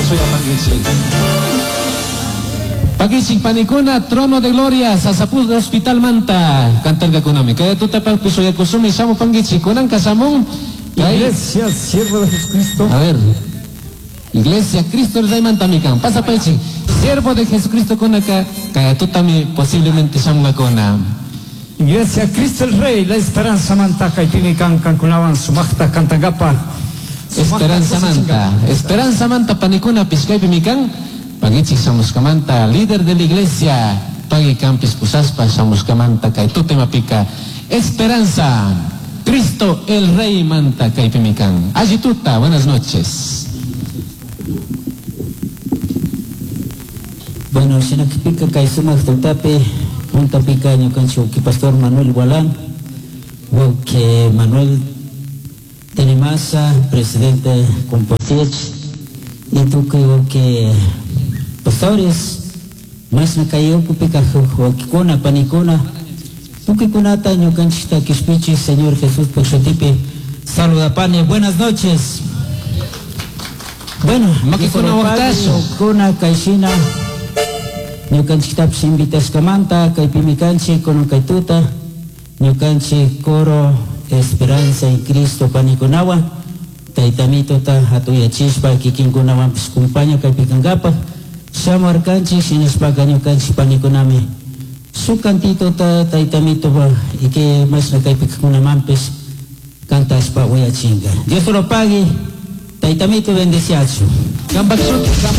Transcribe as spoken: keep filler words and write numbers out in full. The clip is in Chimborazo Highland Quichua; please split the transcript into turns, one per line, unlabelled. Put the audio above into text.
Suyapankichik. Pakichik panikuna, Trono de Gloria, Sasapuz Hospital manta, kantarkakunami. Kay tutapaqpi suyakusumi shamupankichik. Kunanka shamun. Kay-
Iglesia, siervo de Jesucristo.
A ver. Iglesia Cristo el Rey mantamikan. Pasa paichi. Siervo de Jesucristo kunaka, kay tutami posiblemente shamungakuna.
Iglesia Cristo el Rey, la esperanza manta kaypimi kan kankunawan sumaqta kantangapaq.
Esperanza manta. Esperanza manta panikuna pishkaypi mikan. Pagichik shamushkamanta, líder de la iglesia. Pagi campis pusaspa shamushkamanta kay tutemapika. Esperanza. Cristo el Rey manta kaypi mikan. Alli tuta, buenas noches.
Bueno, shinakpika kay sumaq tutapi puntapika ñukanchik wawqi pastor Manuel Gualán, wawqi Manuel Tenimasa, presidente Compotiech, y tukuy wawqi pastores, mashna kay ukupika wawqikuna, panikuna, tukuykunata ñukanchikta kishpichik Señor Jesús shutipi saludapani. Buenas noches. Bueno,
Makikuna waqtashu.
Kuna kayshina ñukanchiktapish invitashkamanta kaypimi kanchik kunan kay tuta ñukanchik coro Esperanza en Cristo panikunawan taytamitota hatuyachishpa kikinkunawanpish kumpaña kaypi kankapaj shamuarkanchik shinashpaka ñukanchik panikunami shuk cantitota taytamitopa y que mashna kaypi kajkunamanpish cantashpa uyachinka. Dios te lo pague, taytamito bendeciachu.
Kampak shuti,